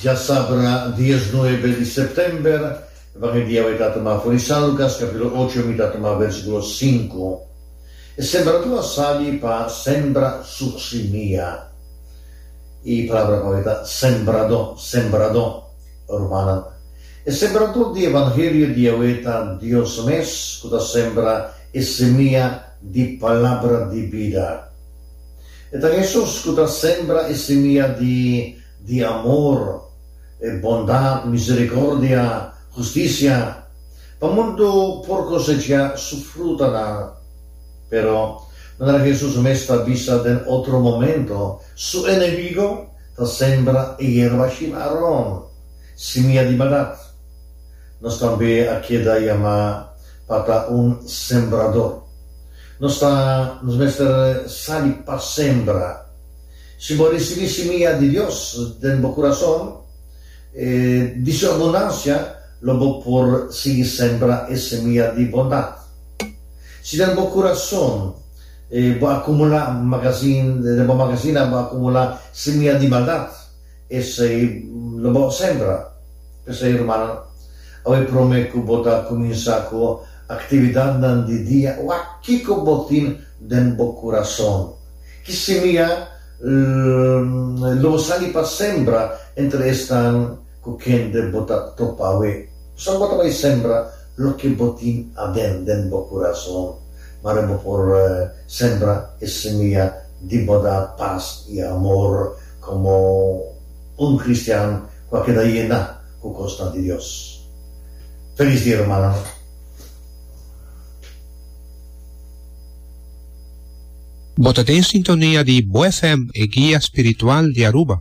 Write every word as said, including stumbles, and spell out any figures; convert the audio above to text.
Djasabra diesnuebe di sèptèmber, Evangelio di ta tumá for di San Lukas, kapítulo ocho, mi ta tuma versíkulo sinku. E sembradó a sali pa sembra su simia. E palabra ku ta sembradó, sembradó, rumannan. E sembradó di Evangelio di awe ta Dios mes, ku ta sembra e simia di palabra di bida. E ta Hesus ku ta sembra e simia di, di amor, bondat, miserikòrdia, hustisia, pa mundu por kosechá su frutanan. Pero, manera Hesus mes ta bisa den otro momento, su enemigu ta sembra e yerba shimaron, simia di maldat. Nos tambe a keda yamá pa ta un sembradó. Nos ta, nos mester sali pa sembra. Si bo risibí simia di Dios den bo kurason, eh, di su abundansia, lo bo por sigui sembra e simia di bondat. Si den bo kurason eh, bo akumulá magasin, den bo mangasina bo akumulá simia di maldat, esei lo bo sembra. P'esei, ruman, awe promé ku bo ta kuminsá ku aktividatnan di dia, wak kiko bo tin den bo kurason. Ki simia lo bo sali pa sembra entre esnan ku kende bo ta topa awe. So bo ta bai sembra loke bo tin aden den bo kurason. Mare bo por sembra e simia di bondat, pas i amor komo un kristian ku a keda yená ku kosnan di Dios. Felis dia, rumannan. Bo ta den sintonia di Bo F M, e guia spiritual di Aruba.